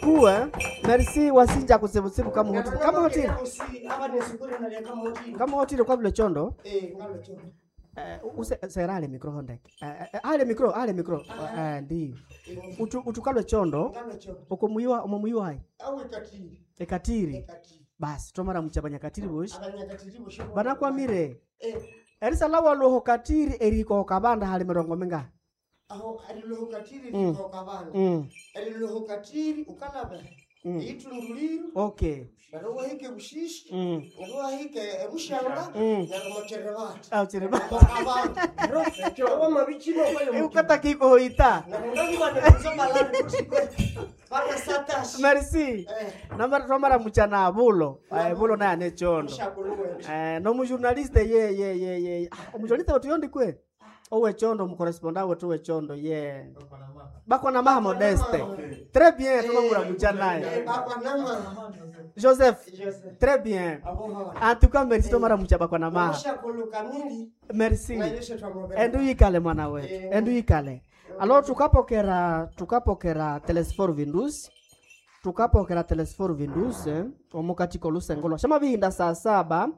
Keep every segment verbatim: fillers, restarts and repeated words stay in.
beaucoup hein. Merci wasinja kutsibutsibu kama hotile. Kama hotile. Kama hotile kwa vile chondo. Eh, use sera ale micro hondeke. Eh, eh, ale micro, ale micro. Eh, ndi. Utu utukalwe chondo. Okomuyiwa omomuyiwa hai. Ekatiri. Basi tomara muchabanya katiri boshi. Banakwamire. Erisala waloho katiri eriko kabanda hali mirongo minga. Aho ariloho katiri Mm. riko kabanda. Mm. Ariloho katiri ukalaba. Mm. Itunduliro Okay. neryo wahike bushishi Mm. neryo wahike ebushanga Mm. neryo mocherevati Ah, chiri ba. kabanda wamabichino Ukata kiko ita. Merci. Namara tomara muchana bulo. Eh, bulo naye ane chondo. Eh, no mujournaliste ye ye ye ye. Ah, Omujournaliste wetu yondi kwe. Owe chondo mukorresponda wetu we chondo ye. Bako na maha modeste. Très bien, tumamura muchana naye. Joseph, très bien. En tout cas, merci tomara mucha bako na maha. Merci. Endu yikale mwana wetu. Endu yikale. Alors tukapokera tukapokera Telesfor Vindus tukapokera Telesfor Vindus eh, omukatiko olusengo shama bihinda saa saba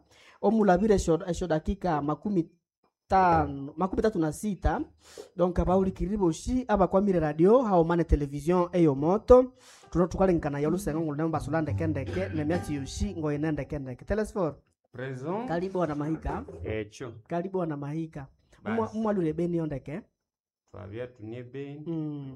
omulabire esho esho dakika makumi tano makumi tatu na sita donc abaulikiriri boshi abakwamire radio haomane television eyo moto tuno tukalengana ya olusengo ngulune basula ndekendeke nemyatsi yoshi ngoine ndekendeke Telesfor Présent. karibu wana mahika Ekyo karibu wana mahika Basi. mwalule beni yondeke twabya tune beni mm.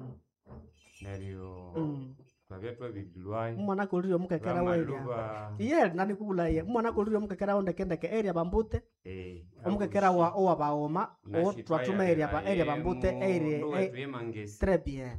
neryo mm. twabya twabidilwayo mwana kolire omukekera weria bamaluba iye nani kubula iye mwana kolire omukekera wondekendeke eria bambute eh, omukekera wa owa baoma o twatuma eria ba eria bambute eria wetu yemangesi très bien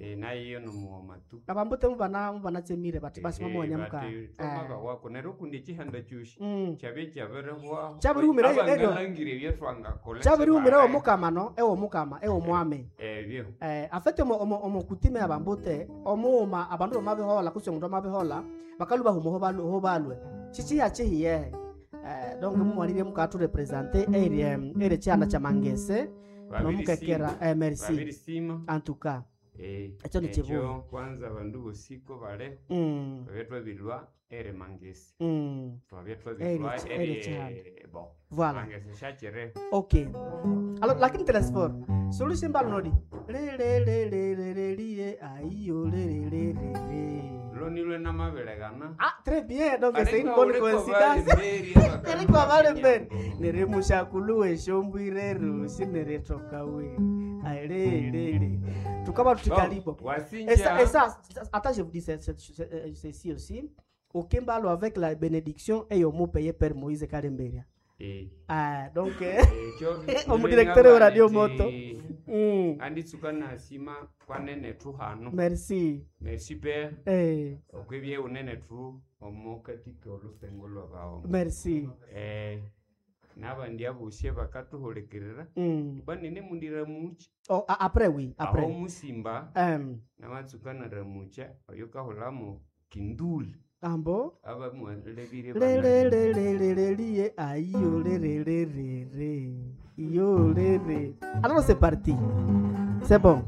eh, nayiyo nomuwoma tu abambute mubana mubanatsemire bati basi mamonya muka twamaka wako neryo kundi ekihanda kyosi Mm. kyabya kyabirihwaho Kyabirihumira erio- abangalangire ebyetwangakola kyabirihumira ewo mukama no ewo mukama ewo mwami ebyo eh, afete omo, omo, omo kutime abambute omuuma abandu bamabihola kusi omundu amabihola bakalu bahuma ho ho balwe chichiha chihiyehe eh, donc mumwalire mukaturepresente eri eri chihanda cha mangese nomukekera eh, merci babirisima en tout cas eh, Ekyo ni ekyo kibuga. kwanza abandu bosiko bale mm, twabya twabilwa eri mangesi mm, twabya twabilwa Eri- eri chihanda. eri bon voilà mangesi shakire ok alors lakini telesfor solution balnodi lelelelelelelie aiyo lelelelele lonilwe namabilegana ah très bien donc c'est une bonne coïncidence Eriko balembere nirimushakuluwe shombwire rusi niritokawe alelele tukaba tutikalipo et ça, et ça, attends, je vous dis ce- ce- ce- ceci aussi. Okimbalo avec la bénédiction et au mot payé Père Moïse Kalemberia. Ah, donc, eh, Omudirecteur wa Radio Moto. mm, anditsuka nasima kwanene thu hano merci. merci père Eh, okwibye unene thu omukatika olusengo lwabawo merci. eh nabandi abosi bakatuhulikirira Mm. banene mundiramucha Oh, a- après, oui, aho après. musimba Um, namatsuka naramucha oyo kahulamo kinduli ambo. abamwalebire Le le le le le le lié aïe oh, le le le le le yo le le. Alors c'est parti. C'est bon.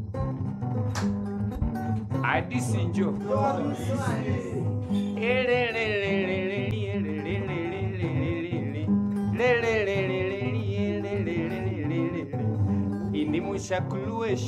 adisinjo Ini mushakuluwe